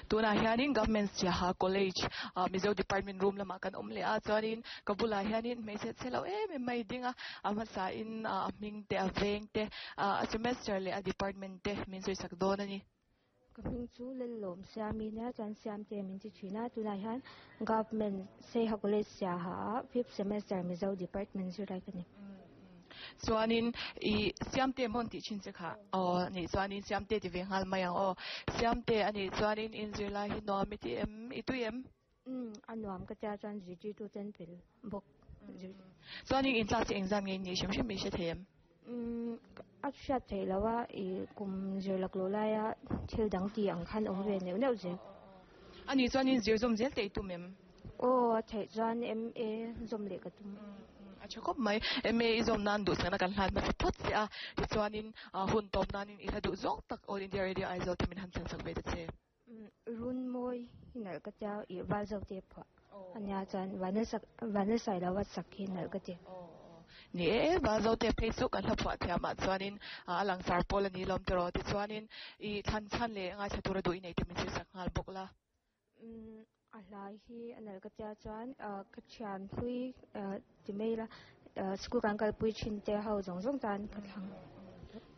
Tunah hianin Government Siaha College ah Mizo Department room lamah kan awm leh a chuanin ka bulah hianin hmeichhe chhe lo em em mai ding a a hmasain ah a hming te a veng te ah a semester leh a department te min sawi sak dawn a ni. Ka hming chu Lellawm Siami nia chuan Siamte min ti thin a tunah hian Government Saiha College Siaha ah fifth semester Mizo Department zirlai ka ni. Chuanin i Siamte hmawn tih thin che kha aw nih chuanin Siamte ti ve nghal mai ang aw. Siamte a nih chuanin in zirlai hi nuam i ti em? I tui em? Umm a nuam ka tia chuan zirtirtu ten pel bawk zir. Chuanin in class hi engzam nge in nih hrim hrim i hre thei em? Umm a hriat theih loh a i kum zir lak loh laia thil dang tih ang khan awm ve neuh neuh zel. A nih chuanin zir zawm zel te i tum em? Aw a theih chuan MA zawm leh ka tum. A tha khawp mai. MA i zawm nan duhsakna kan hlan hmasa phawt che a, tichuanin hun tawp nanin i hla duh zawng tak All India Radio Aizawl te min han thlen sak ve ta che. Runmawi hi nalh ka tia i val zo te phuah a nia chuan Vanlalsai lo a sak hi nalh ka ti. Ni e, val zo te phei chu kan hla phuah thiam ah chuanin a langsar pawl a ni lawm tiraw tichuanin i thlan chhan leh ngaithla tura duh i nei te min sawi sak nghal bawk la. Umm a hlai hi a nalh ka tia chuan ka thian hlui ti mai ila school kan kalpui thin te ho zawng zawng tan ka thlang.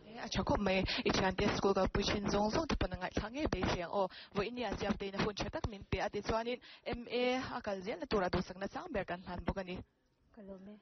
E a tha khawp mai i thian te school kalpui thin zawng zawng te pawn a ngaihthlak ngei beisei ang aw. Vawiin a siam tein a hun tha tak min pe a tichuanin MA a kal zelna tura duhsakna chang ber kan hlan bawk a ni. Ka lawm e.